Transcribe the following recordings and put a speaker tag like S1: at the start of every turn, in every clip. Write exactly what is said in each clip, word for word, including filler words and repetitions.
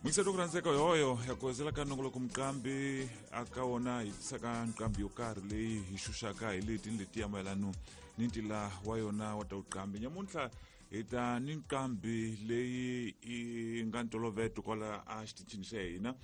S1: Muyingiseri ku rhandzeka yoyo ya ku hezela ka nongoloko muqambi aka wona hi tisaka nqambi yo karhi leyi hi xuxaka hi leti ni letiya mayelano ni ntila wa yona wa ta vuqambi. Nyamuntlha hi ta ni nqambi leyi yi nga ntolovelo kwala a xitichini xa hina.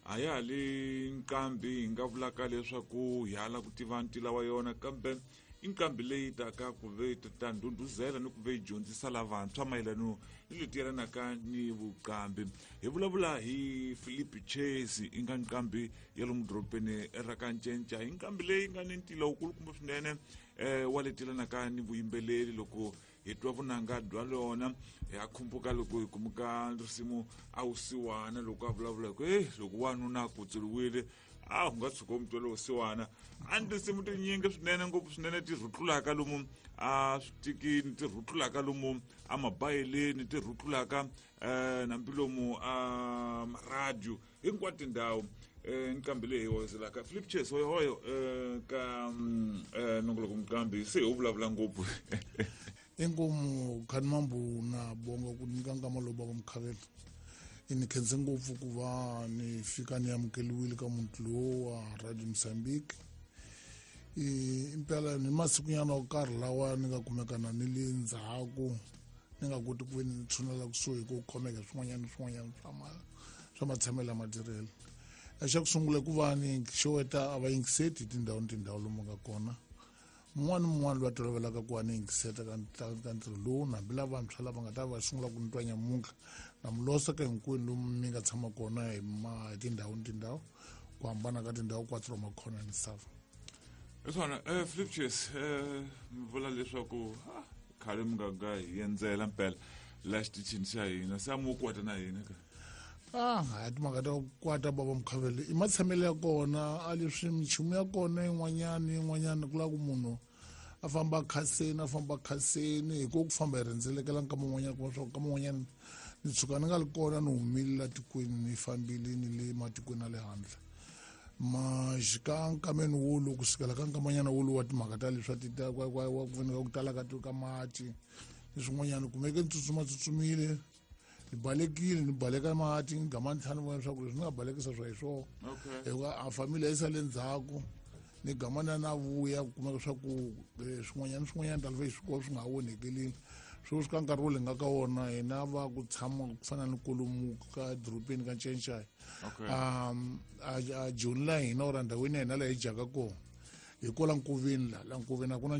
S1: A ya ha li nqambi hi nga vulaka leswaku hi hala ku tiva ntila wa yona, kambe i nqambi leyi taka ku ve ta ndhundhuzela ni ku ve yi dyondzisa lavantshwa mayelano ni leti yelanaka ni vuqambi. Hi vulavula hi Philip Chase, i nga nqambi ya lomu dorobeni ra ka Ncenca. Hi nqambi leyi nga ni ntila wukulukumba swinene um wa leti yelanaka ni vuyimbeleri. Loko hi twa vunanga bya lona hi a khumbuka loko hi kumuka risimu a wusiwana, loko a vulavula hi ku e loko wanuna a kutsuriwile a wu nga tshuka u mutwela wusiwana. A ni tinsimu tinyingi swinene ngopfu swinene ti rhutlulaka lomu a switikini, ti rhutlulaka lomu a mabayeleni, ti rhutlulaka um hambi lomu a maradio, hinkwato tindhawu. um nqambi leyi hi hoyiselaka Philip Chase hoyohoyo um ka um nongoloko muqambi se hi vulavula ngopfu.
S2: Inkomu khani mambu na bonga ku nyika nkama lowu bava mukhavela. Ni khense ngopfu ku va ni fika ni amukeliwile ka muti lowu wa Radio Mozambique. Impela ni masikunyana yo karhi lawa ni nga kumekana ni le ndzhaku, ni nga koti ku ve ni tshunela kusuhi ku khomeka swin'wanyana ni swin'wanyana swa ma swa matshamelo ya matirhelo. Xa ku sungula ku va ni xeweta a va yingiseti hi tindhawu ni tindhawu lomu nga kona. Mun'wana ni mun'wana loyi a tolovelaka ku va ni yingiseta ka ka ntirho lowu, na hambi lavantshwa lava nga ta va sungula ku ni twa nyamuntlha, na mi losa ka hinkwenu lomu mi nga tshama kona hi ma hi tindhawu ni tindhawu, ku hambana ka tindhawu quatro makhona ya misava.
S1: Hi swona um Philip Chase, um mi vula leswaku khale mi nga nga hi endzela mpela la xitichini xa hina, se a mi wo kwata na hina ka?
S2: Ah, hayi, timhaka ta ku kwata bava mukhavele i matshamelo ya kona, a leswi minchumu ya kona yin'wanyana yin'wanyana ku lava ku munhu a famba khaseni, a famba khaseni hi ku ku famba hi rhendzelekela nkama wun'wanyana, kuma swa ku nkama wun'wanyana ni tshuka ni nga li kona, ni humile la tikweni, ni fambile ni le matikweni ya le handle. Maxika nkameni wulu kusukela ka nkamanyana wulu wa timhaka ta leswa ti ta wa wa ku ku tala ka ka mati ni swin'wanyana, kumeke ni tsutsuma tsutsumile, ni balekile, ni baleka mati, ni gama ni tlhela ni vona leswaku leswi ni nga balekisa swa hi swona, hikuva a family yi sale ndzhaku. Ni gama na na vuya ku kumeka swa ku swin'wanyana swin'wanyana ta hi swikolo swi nga ha onhekelile. Sweswi ka nkarhi wo le nga ka wona hina va ku tshama ku fana ni kolomu ka dorobeni ka Ncencai, um a Joni la hina or ndhawini ya hina laha hi dyaka kona hi kwala nkoveni, la la nkoveni a ku na.